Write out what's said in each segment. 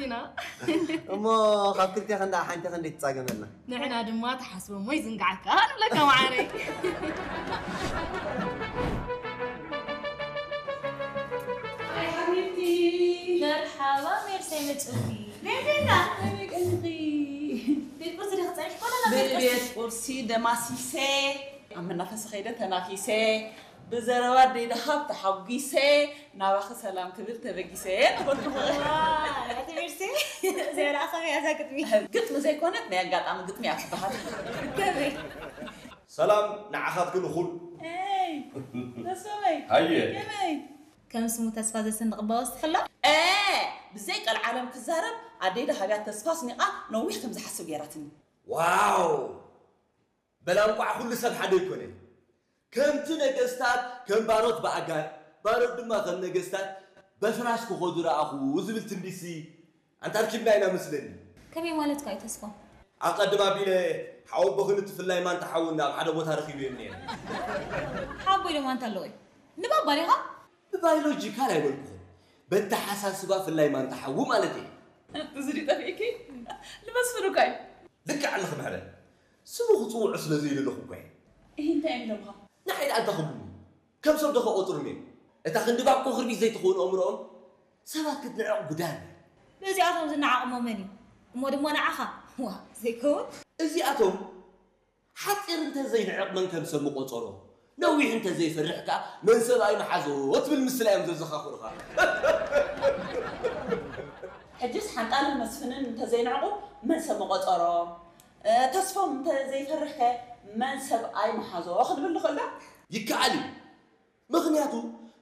ኢና። እሞ ካብ ክልቴ ክንዳ ሓንቲ ክንደይ ትጻገመልና? ንሕና ድማ ተሓስቦ እሞ ይዝንግዓካ ንብለካ መዓረይ። ኣይ ሓቢብቲ። መርሓባ ሜርሰይ መጽውቲ። ቤቤና ከመይ ቀኒኺ? ቤት ቁርሲ ዲኺ ጸኒሕኪ ወላ ናብ ቤት ቁርሲ? ቤት ቁርሲ ደማሲሰ ኣብ መናፈሲ ከይደ ተናፊሰ ብዘረባ ኣደይ ደሃብ ተሓጒሰ ናባኺ ሰላም ክብል ተበጊሰ ነበርኩ። ዋይ፣ እቲ ሜርሲ እዚኣ ደኣ ከመይ እያ እዛ ግጥሚ? ግጥሚ ዘይኮነት ናይ ኣጋጣሚ ግጥሚ እያ ትበሃል። ከመይ? ሰላም ንዓኻትክን እኹል። ኤይ፣ ተስፋመይ፣ ሃየ። ከመይ? ከም ስሙ ተስፋ ዘስንቕ እባ ወስኽላ? ኤ፣ ብዘይ ቀልዓለም ክዛረብ ኣደይ ደሃብያ ተስፋ ኣስኒቓ ነዊሕ ከም ዝሓስብ ገይራትኒ። ዋው! በላ እንቋዕ ኩሉ ሰብ ሓደ ኣይኮነን። ከምቲ ነገስታት ከም ባሮት ብኣጋር፣ ባሮት ድማ ከም ነገስታት በፍራስ ክኸዱ ረኣኹ ዝብል ትንቢትሲ ኣንታ ርኪብና ኢና መስለኒ። ከመይ ማለትካ እዩ ተስፋ? ኣቐድም ኣቢለ ሓወቦኽን እቲ ፍላይ ማንታ ሓውን ኣብ ሓደ ቦታ ረኺበዮም ነይረ። ሓቦይ ዶ ማንታ ኣለዎ እዩ? ንባባ ዲኻ? ብባዮሎጂካል ኣይበልኩኹን፣ በተሓሳስባ ፍላይ ማንታ ሓዉ ማለት እየ። እዚ ድዩ ጠፊእኪ? ንመስፍን እኳ እዩ። ልክዕ ኣለኺ ምሕረ። ስሙ ክጽውዖ ስለ ዘይደለኹ እኳ እየ። እሂ እንታይ እዮም ደምኻ? ንዓይ ደኣ እንታይ ክብሉኒ? ከም ሰብ ዶ ክቖጽሩኒ እዮም? እታ ክንዲ ባኮ ክርቢት ዘይትኸውን ኣእምሮኦም ሰባት ክትንዕቕ ጉዳን እያ። ነዚኣቶም ዝነዓቕ እሞ መን እዩ? እሞ ድማ ንዓኻ? ዋእ ዘይከውን። እዚኣቶም ሓጺር እንተ ዘይንዕቕ መን ከም ሰብ ምቖጸሮ፣ ነዊሕ እንተ ዘይፈርሕ ከኣ መን ሰብ ኣይምሓዞ ትብል ምስላ እዮም ዘዘኻኽሩኻ። ሕጅስ ሓንጣልን መስፍንን እንተዘይንዕቑ መን ሰብ ምቖጸሮም? ተስፎም እንተዘይፈርሕከ መን ሰብ ኣይምሓዞ ክንብል ንኽእል ዶ? ይከኣል እዩ። ምኽንያቱ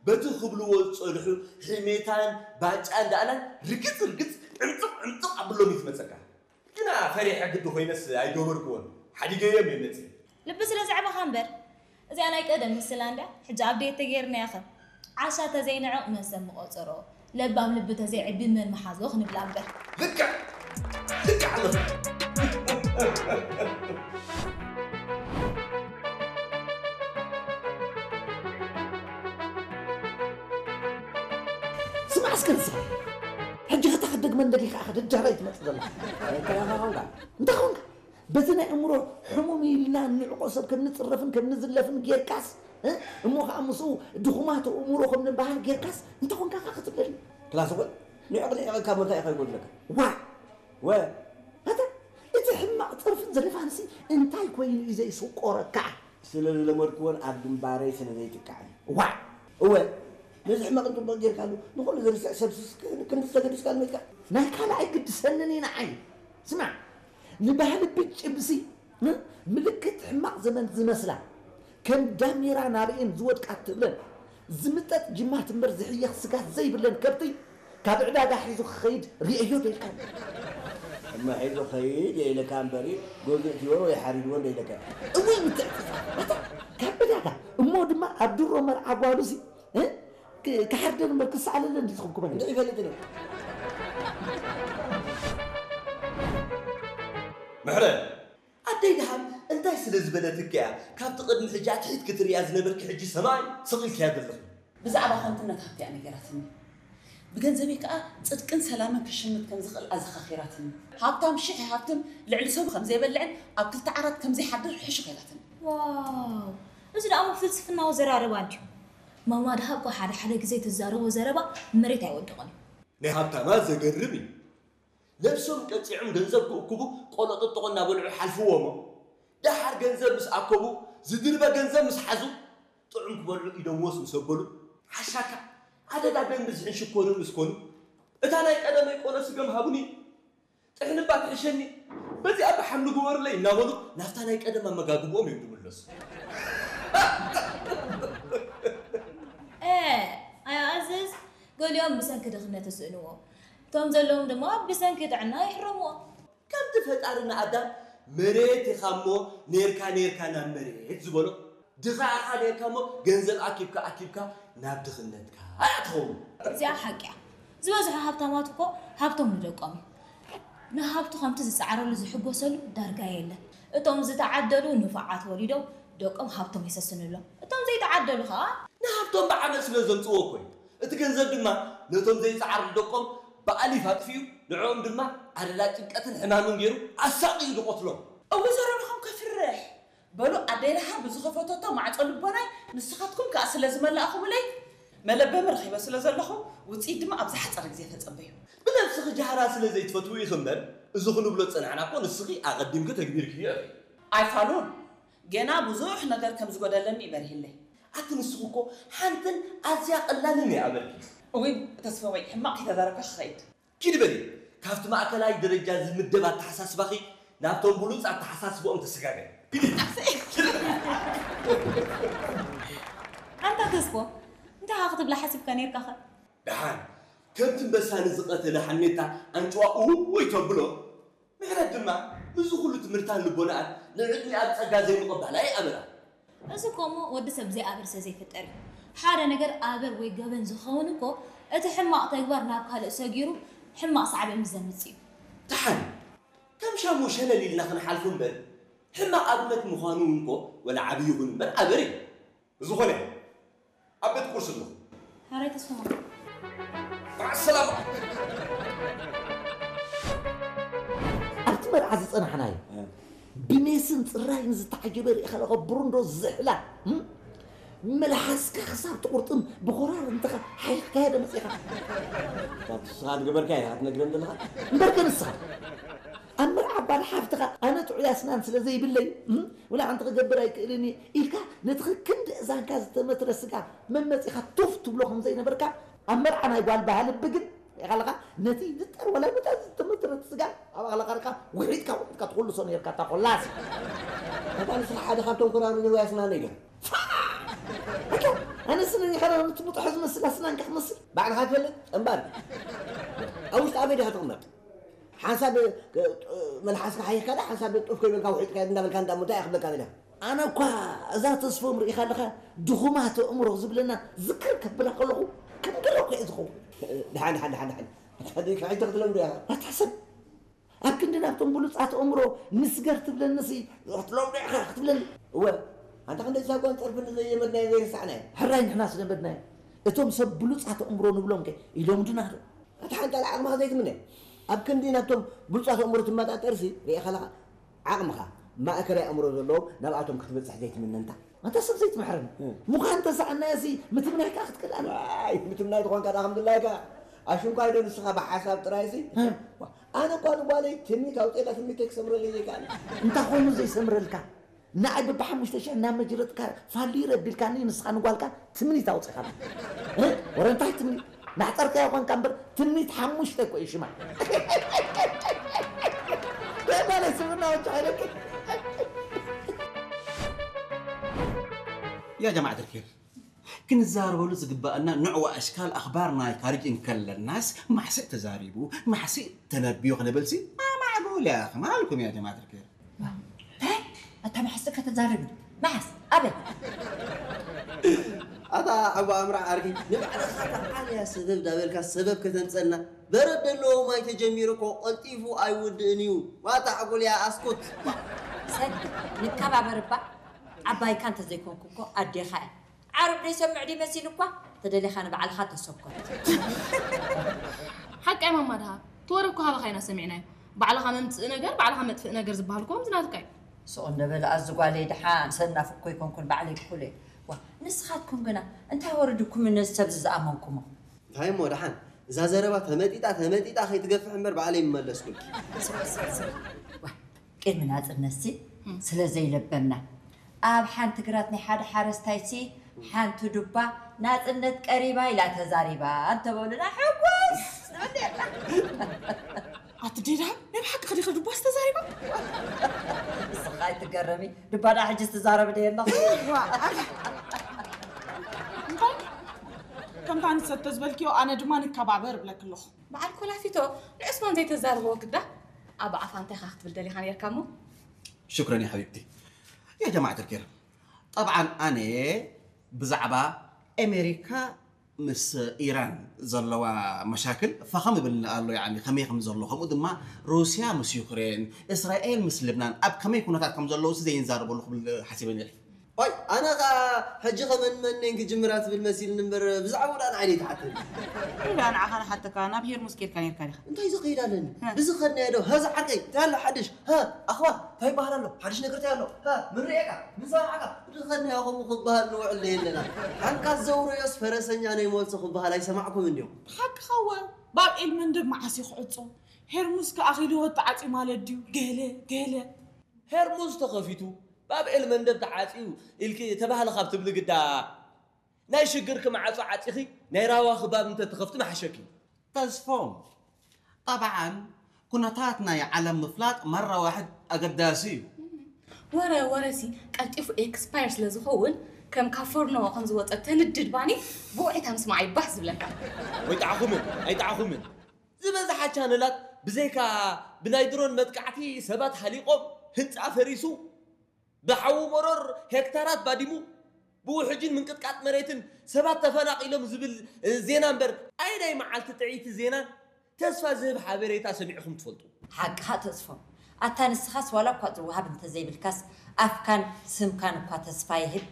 በቲ ክብልዎ ዝጸንሑ ሕሜታን ባጫን ደኣላን ርግጽ ርግጽ ዕምጽቕ ዕምጽቕ ኣብሎም እዩ ዝመጸካ። ግና ፈሪሐ ግዲ ኮይነስ ኣይገበርክዎን፣ ሓዲገዮም እየ መጺእ። ልቢ ስለ ዘዕበኻ እምበር። እዚኣ ናይ ቀደም ምስላ እንድያ፣ ሕጂ ኣብዴት ተጌርናያ ኸ። ዓሻ ተዘይንዕቕ መን ሰብ ምቖጸሮ፣ ለባም ልቢ ተዘይዕቢ መን ምሓዞ ክንብላ እምበር። ልክዕ! ልክዕ ኣለኺ! ስማዕ እስከ ንስኻ፣ ሕጂ ኸታ ክደግመ እንደሊኻ ኢኻ ደጃራይ ትመጽእ ዘለኻ። እንታይ ኢኻ ኾንካ? እንታይ ኾንካ? በዚ ናይ እምሮ ሕሙም ኢልና እንዕቆ ሰብ ከም ንጽረፍን ከም ንዝለፍን ጌርካስ፣ እ? እሞ ኸኣ ምስኡ ድኹማት እምሮ ከም ንበሃል ጌርካስ እንታይ ኾንካ ኸ ክትብለኒ? ክላስ ኾይ፣ ንዕቕ ንዕቕ ካብ መርካ ኢኻ ይጎድለካ። ዋእ! ወ! ኣታ፣ እቲ ሕማቕ ጸርፍን ዘለፋንሲ እንታይ ኮይኑ እዩ ዘይስቆረካ? ስለ ዝለመድክዎን ኣብ ግንባረይ ስለ ዘይጥቃዕን። ዋእ! እወ፣ ነዚ ሕማቕ ጽቡቕ ጌርካሉ፣ ንኹሉ ዘርስዕ ሰብስስ ክንዲ ተገዲስካ ኣልመድካ። ናይ ካልኣይ ግድሰንን እዩ ንዓይ። ስማዕ፣ ንባህሊ ብጭብሲ፣ እ? ምልክት ሕማቕ ዘመን ዝመስላ፣ ከም ዳሜራ ናበኤን ዝወድቃ ትብለን፣ ዝምጠጥ ጅማት እምበር ዝሕየኽ ስጋት ዘይብለን ከብቲ፣ ካብ ዕዳጋ ሒዙ ክኸይድ ርእየዮ ዶ ኢልካ? እሞ ሒዙ ኸይድ እየ ኢለካ እምበሪ፣ ገዚኡ ትበሎ ወይ ሓሪድዎ እንዶ ኢለካ። እውይ ምትዕጽጻ! ኣታ፣ ካብ ዕዳጋ፣ እሞ ድማ ኣብ ድሮ መርዓ ጓሉሲ፣ እ? ክ-፣ ክሓርደን እምበር ክሰኣለለን ድዩ ዝኽብክበን? እንታይ ይፈልጥ እየ? ምሕረ! ኣደይ ደሃብ እንታይ ስለ ዝበለትኪ እያ ካብቲ ቅድሚ ሕጂ ኣትሒትኪ ትርእያ ዝነበርኪ ሕጂ ሰማይ ስቕ ኢልክያ ዘለኺ? ብዛዕባ ከንቱነት ሃብቲ እያ ነጊራትኒ። ብገንዘበይ ከኣ ጽድቅን ሰላምን ክሽምት ከም ዝኽእል ኣዘኻኺራትኒ። ሃብታም ሽሕ ይሃብትም ልዕሊ ሰቡ ከም ዘይበልዕን ኣብ ክልተ ዓራት ከም ዘይሓድር ሕሹኽ ኢላትኒ። ዋው! እዚ ደኣ እሞ ፍልስፍናዊ ኣዘራርባ እንድዩ። ማማ ደሃብ እኮ ሓደ ሓደ ግዜ ትዛረቦ ዘረባ መሬት ኣይወድቕን እዩ። ናይ ሃብታማት ዘገርም እዩ። ነብሶም ቀጺዖም ገንዘብ ክእክቡ ቆሎ ጥጥቖ እናበልዑ ይሓልፍዎ እሞ፣ ደሓር ገንዘብ ምስ ኣከቡ፣ ዝድርበ ገንዘብ ምስ ሓዙ፣ ጥዑም ክበልዑ ኢዶም ወስ ምስ ኣበሉ፣ ሓሻካ ኣደዳ ደም ብዝሕን ሽኮርን ምስ ኮኑ፣ እታ ናይ ቀደመይ ቆሎ ስገም ሃቡኒ፣ ጥሕንባ ትሕሸኒ፣ በዚኣ ብሓምሊ ግበሩለይ እናበሉ ናብታ ናይ ቀደም ኣመጋግብኦም እዮም ዝምለሱ። እ፣ ኣያ ኣዝዝ፣ ገሊኦም ብሰንኪ ድኽነት ይስእንዎ፣ እቶም ዘለዎም ድማ ብሰንኪ ጥዕና ይሕረምዎ። ከምቲ ፈጣሪ ንኣዳም መሬት ኢኻ እሞ ኔርካ ኔርካ ናብ መሬት ዝበሎ፣ ድኻ ኢኻ ኔርካ እሞ ገንዘብ ኣኪብካ ኣኪብካ ናብ ድኽነትካ እያ ትኸውን። እዚኣ ሓቂ እያ። ዝበዝሑ ሃብታማት እኮ ሃብቶም ንደቆም እዩ። ንሃብቱ ከምቲ ዝጸዓረሉ ዝሕጎሰሉ ዳርጋ የለን። እቶም ዝተዓደሉ ንፉዓት ወሊዶም ደቆም ሃብቶም የሰስንሎም። እቶም ዘይተዓደሉ ኸኣ ንሃብቶም ብዓመል ስለ ዘምጽእዎ እኮ እዩ። እቲ ገንዘብ ድማ ነቶም ዘይጸዓሩ ደቆም ብኣሊፍ ኣጥፊኡ፣ ንዕኦም ድማ ኣደዳ ጭንቀትን ሕማምን ገይሩ ኣሳቒዩ ዝቐትሎም። እወ፣ ዘረባኹም ከፍርሕ። በሉ፣ ኣደይ ደሓር ብዝኸፈተቶ ማዕጾ ልቦናይ ንስኻትኩም ከኣ ስለ ዝመላእኹምለይ፣ መለበሚ ረኺበ ስለ ዘለኹ፣ ውጽኢት ድማ ኣብ ዝሓጸረ ግዜ ተጸበዩ። ብነብስኺ ጃህራ ስለ ዘይትፈትዊ ኢኺ እምበር፣ እዚ ክንብሎ ዝጸናሕና እኮ ንስኺ ኣቐዲምኪ ተግቢርክዮ ኢኺ። ኣይፋሉን፣ ገና ብዙሕ ነገር ከም ዝጎደለኒ እዩ በሪህለይ። ኣቲ ንስኺ እኮ ሓንትን ኣዝያ ቀላልን እያ በልኪ። እውይ ተስፎመይ፣ ሕማቕ ከይተዛረብካ ክኸይድ። ኪዲ በሊ፣ ካብቲ ማእከላይ ደረጃ ዝምደብ ኣተሓሳስባኺ ናብቶም ብሉጽ ኣተሓሳስባኦም ተሰጋገሪ። ኪዲ። ኣንታ ተስፎ፣ እንታይ ኢኻ ክትብላ ሓሲብካ ነይርካኸ? ደሓን፣ ከምቲ ኣንበሳ ንዝቐተለ ሓሜታ ኣንጭዋ እውይ ተብሎ፣ ምሕረት ድማ ምስዚ ኩሉ ትምህርታን ልቦናኣን ንዕድሚኣ ብጸጋ ዘይምቕባላ ይኣብራ። እዚ እኮ እሞ ወዲ ሰብ ብዘይ ኣበር ሰ ዘይፍጠር እዩ። ሓደ ነገር ኣበር ወይ ገበን ዝኸውን እኮ እቲ ሕማቕ ተግባር ናብ ካልእ ሰጊሩ ሕማቕ ሳዕቤን ምስ ዘምጽእ እዩ። ደሓን፣ ከም ሻሙ ሸለል ኢልና ክንሓልፎ እምበር፣ ሕማቕ ኣብነት ምዃኑ እውን እኮ ወላ ዓብዪ ይኹን እምበር ኣበር እዩ። ብዝኾነ፣ ኣብ ቤት ቁርሲ ኣለኹ። ሓራይ ተስፋ። ማዕሰላማ። ኣብቲ መርዓ ዝጸናሕናዮ፣ ብሜስን ጽራይን ዝተዓጀበ ርኢኻ ኣለኻ፣ ብሩንዶ ዝሕላ፣ እም? መልሓስካ ክሳብ ትቑርጥም ብኾራር እንተኻ ሓይኽካዮ ዶ መጺኻ? ንስኻ ዝገበርካዮ ኢኻ ትነግረኒ ዘለኻ? እምበርከ ንስኻ፣ ኣብ መርዓ ጓል ሓፍትኻ ኣነ ጥዑይ ኣስናን ስለ ዘይብለይ፣ እም? ወላ ሓንቲ ክገብር ኣይክእልን እየ ኢልካ፣ ነቲ ክንዲ እዛንካ ዝተመትረ ስጋ መመጺኻ ቱፍ ትብሎ ከም ዘይነበርካ፣ ኣብ መርዓ ናይ ጓል በሃልቢ ግን ሪኢኻ ኣለኻ፣ ነቲ ዝጠር ወላ ነታ ዝተመትረት ስጋ ኣብ ኣኽላኻርካ ውሒጥካ፣ ውሒጥካ ትኹልሶ ነርካ፣ እታ ኮላስ። እታ ንስኻ ሓደ ካብቶም ኮራሩ ነዋይ ኣስናነይ ዶ? ኣታ፣ ኣነ ስነን ኢኻ ዶ ነቲ ምጥሖ ዝመስል ኣስናንካ ክመስል? ባዕልኻ ትፈልጥ? እምበር። ኣብ ውሽጢ ኣበይ ዲኻ ትቕመጥ? ሓንሳብ፣ እ፣ መልሓስካ ሓይኽካ ዳ፣ ሓንሳብ ጡፍ ከይበልካ ውሒጥካ እንዳበልካ እንዳሞ እንታይ እየ ክብለካ ደልያ? ኣነ እኳ እዛ ተስፎም ርኢኻ ኣለኻ ድኹማት ኣእምሮ ዝብለና ዝክር ከብላ ከለኹ ከም ገረኩ እየ ዝኸውን። ደሓን፣ ደሓን፣ ደሓን፣ ደሓን። ኣታ ደይ ካሒተ ክትለምዶ ኢኻ። ኣታ ሰብ፣ ኣብ ክንዲ ናብቶም ብሉጻት ኣእምሮ ንስገር ትብለንሲ ክትለምዶ ኢኻ ክትብለኒ። እወ፣ ኣንታ ክንደይ ሳጓን ጸርፍን ዘየመድናዮ ዘይረሳዕናዮ። ሕራይ ንሕና ዝለመድናዮ። እቶም ሰብ ብሉጻት ኣእምሮ ንብሎም ከ ኢሎም ድና ዶ? ኣታ ሓንጣል ዓቕምኻ ዘይትምነ። ኣብ ክንዲ ናብቶም ብሉጻት ኣእምሮ ትመጣጠርሲ ርኢኻ ኣለኻ። ዓቕምኻ፣ ማእከላይ ኣእምሮ ዘለዎም ናብኣቶም ክትበጽሕ ዘይትምነ እንታ። ኣንታ ሰብ ዘይትምሕረኒ። እ። ምዃን ተሰኣናዮሲ ምትምናይ ከኣ ክትክእል ኣለካ። ዋይ፣ ምትምናይ ተኾንካ ደኣ ከም ድላይካ። ኣሽንኳይ ዶ ንስኻ ብሓሳብ ጥራይሲ? እ። ዋ፣ ኣነ እኳ ንጓለይ ትምኒት ኣውፅኤላ ትምኒተይ ክሰምረለይ ዘይከኣለ። እንታይ ኮይኑ ዘይሰምረልካ? ንዓይ በብሓሙሽተ ሽሕ እናመጅረጥካ ፋልዩ ረቢልካኒ ንስኻ ንጓልካ ትምኒት ኣውፂኻላ። እ? ወረ እንታይ ትምኒት? ናሕፀርካዮ ኾንካ እምበር ትምኒት ሓሙሽተ እኮ እዩ ሽማ። በቃ ናይ ስብና ወንጭ ሓይለኪ። يا جماعة الخير، ክንዛረበሉ ዝግባኣና ንዕኡ ኣሽካል ኣኽባር ናይ ካርጅ እንከለናስ ማሕስእ ተዛሪቡ፣ ማሕስእ ተነብዮ ክንብልሲ ማማዕጎል ያኺ ማልኩም يا جماعة الخير። እንታይ? ኣታ መሓስ ከተዛርብ? መሓስ? ኣበይ? ኣታ ሓዋ ኣምራ ዓርኪ፣ ንባዕልኻ ተዓልያ ሰበብ ዳበልካ ሰበብ ከተምጸልና። በረድ ዘለዎ ማይ ተጀሚሩ እኮ ቀልጢፉ ኣይውድእን እዩ። ዋታ ዕጉልያ ኣስኩት። ሰድ፣ ንከባበር እባ። ዓባይካ እንተዘይኮንኩ እኮ ኣዴኻ እያ። ዓረብ ደይሰምዕ ድዩ መሲሉ እኳ፣ ተደሊኻ ንባዕልኻ ተሰኮት። ሓቃይ ማማ ድሃ፣ እቲ ወረ እኮ ሃባኻ ኢና ሰሚዕናዮ። ባዕልኻ መምጽእ ነገር፣ ባዕልኻ መጥፍእ ነገር ዝበሃል እኮ ከምዚ ናትካ እዩ። ስቕ እንደ በል ኣዚ ጓለይ ድሓን፣ ሰናፍ እኮ ኣይኮንኩን ባዕለይ ክኩል እየ። ዋ፣ ንስኻትኩም ግና እንታይ ወረድኩም ነዚ ሰብዚ ዝኣመንኩሞ? እንታይ እሞ ድሓን፣ እዛ ዘረባ ተመጢጣ፣ ተመጢጣ ከይትገፍሕ እምበር ባዕለይ ምመለስኩልኪ። ስቕ፣ ስቕ፣ ስቕ። ዋ፣ ቅድሚ ናጽነትሲ እም። ስለ ዘይለበምና፣ ኣብ ሓንቲ ግራት ናይ ሓደ ሓረስታይሲ ሓንቲ ዱባ ናጽነት ቀሪባ ኢላ ተዛሪባ እንተበሉና ሕጉስ ንብል ነርና። ኣቲ ዴዳ፣ ናይ ብሓቂ ከዲኸ ዱባስ ተዛሪባ? ንስኻ ኣይትገረሚ፣ ዱባ ደኣ ሕጂ ትዛረብ ዶ የለኹ? ዋ፣ ኣታ። እንታይ? ከምታ ንሰተ ዝበልክዮ፣ ኣነ ድማ ንከባበር እብለኪ ኣለኹ። በዓል ኮላፊቶ፣ ንዑስማን ዘይተዛርብዎ ግዳ፣ ኣብ ኣፋ እንታይ ኢኻ ክትብል ደሊኻ ነርካ እሞ? شكرا يا حبيبتي. يا جماعة الخير، طبعا ኣነ ብዛዕባ ኣሜሪካ ምስ ኢራን ዘለዋ መሻክል ፈኸም ይብል ኣሎ፣ ያኒ ከመይ ከም ዘሎ፣ ከምኡ ድማ ሩስያ ምስ ዩክሬን፣ እስራኤል ምስ ልብናን ኣብ ከመይ ኩነታት ከም ዘለዉ ሲ ዘይንዛረበሉ ክብል ሓሲበ ነይረ። ዋይ ኣነ ኸኣ ሕጂ ኸመን መነን ክጅምራ ትብል መሲልኒ እምበር ብዛዕባኡ ደኣ ንዓይ ደይትሓተኒ። ኢላ ንዓኻ ንሓተካ ናብ ሄርሙስ ኬድካ ኔርካ ዲኻ? እንታይ ዝኸይድ ኣለኒ? እ። ብዝኸድናዮ ዶ ሀዛ ዓርከይ እንታይ ኣሎ ሓድሽ? ሀ ኣኽባ እንታይ ይበሃል ኣሎ? ሓድሽ ነገር እንታይ ኣሎ? ሀ ምን ርእየካ? ምን ሰማዕካ? ብዝኸድናዮ ከምኡ ክበሃል ንውዕል ዶ የለና? ሓንካስ ዘውረዮስ ፈረሰኛ ናይ ሞልሶ ክበሃል ኣይሰማዕኩምን ድዮም? ሓቅኻ እወ። ባብ ኤል መንደብ መዓስ እዩ ክዕጾ? ሄርሙስ ከኣ ኣኺልዎ ተዓጽዩ ማለት ድዩ? ገለ ገለ። ሄርሙዝ ተኸፊቱ ባብ ኤል መንደብ ተዓጽዩ ኢልኪ ተባህለ ካብ ትብሊ ግዳ ናይ ሽግርኪ መዓጾ ዓጺኺ ናይ ራባኺ ባብ እንተትኸፍቲ ምሓሸኪ። ተስፎም ጠብዓን ኩነታት ናይ ዓለም ምፍላጥ መራ ዋሕድ ኣገዳሲ እዩ። ወረ ወረሲ ቀልጢፉ ኤክስፓየር ስለ ዝኸውን ከም ካብ ፎርኖ ከም ዝወፀ ተንድድ ባኒ ብውዒታ ምስማዕ ይባህ ዝብለካ። ወይጣዕኹምን ኣይጣዕኹምን ዝበዝሓ ቻነላት ብዘይካ ብናይ ድሮን መጥቃዕቲ ሰባት ሃሊቖም ህንፃ ፈሪሱ ብሓዊ መሮር ሄክታራት ባዲሙ ብውሕጅን ምንቅጥቃጥ መሬትን ሰባት ተፈናቒሎም ዝብል ዜና እምበር ኣየናይ መዓልቲ ጥዕይቲ ዜናን ተስፋ ዝህብ ሓበሬታ ሰሚዕኹም ትፈልጡ? ሓቅኻ ተስፎም ኣታ ንስኻስ ዋላ እኳ ዝወሃብ እንተዘይብልካስ ኣፍካን ስምካን እኳ ተስፋ ይህብ።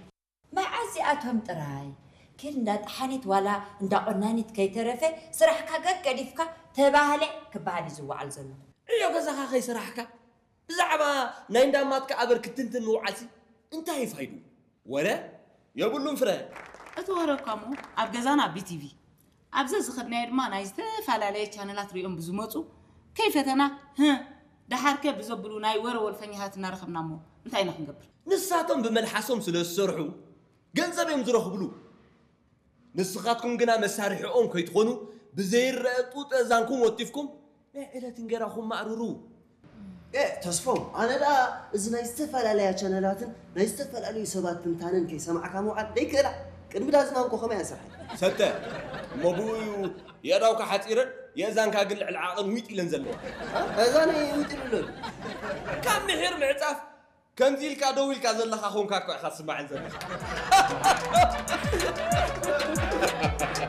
መዓስ እዚኣቶም ጥራይ ኪድ እንዳ ጠሓኒት ዋላ እንዳ ቆናኒት ከይተረፈ ስራሕካ ገገዲፍካ ተባህለ ክበሃል እዩ ዝወዓል ዘሎ። ዕዮ ገዛኻ ከይሰራሕካ ብዛዕባ ናይ እንዳማትካ ኣበር ክትንትን ምውዓልሲ እንታይ እዩ ፋይዱ? ወረ የብሉን ፍረ። እቲ ወረ እኳ እሞ ኣብ ገዛና ቢቲቪ ኣብ ዘዝኸድናዮ ድማ ናይ ዝተፈላለየ ቻነላት ሪኦም ብዝመፁ ከይፈተና ህእ ደሓርከ ብዘብሉ ናይ ወረ ወልፈኛታት እናረኸብና እሞ እንታይ ኢና ክንገብር? ንሳቶም ብመልሓሶም ስለ ዝሰርሑ ገንዘብ እዮም ዝረኽብሉ። ንስኻትኩም ግና መሳርሒኦም ከይትኾኑ ብዘይረአ ጡጥ ኣእዛንኩም ወቲፍኩም ናይ ዕለት እንጌራኹም ማእርሩ። ኤእ ተስፎም ኣነ ደኣ እዚ ናይ ዝተፈላለያ ቻነላትን ናይ ዝተፈላለዩ ሰባት ትንታነን ከይሰማዕካ ምውዓል ደይክእላ። ቅድሚ ዳዝማን እኮ ከመይ እያ ስርሐይ። ሰተ እሞ ብኡ እዩ የእዳውካ ሓጺረን የእዛንካ ግን ልዕሊ ዓቐን ዊጥ ኢለን ዘለዋ። ኣእዛነይ ዊጥ ኢሉ ኣሎ። ካብ ምሒር ምዕጻፍ ከምዚ ኢልካ ደው ኢልካ ዘለኻ ኮንካ እኮ ኢኻ ትስማዐን ዘለኻ።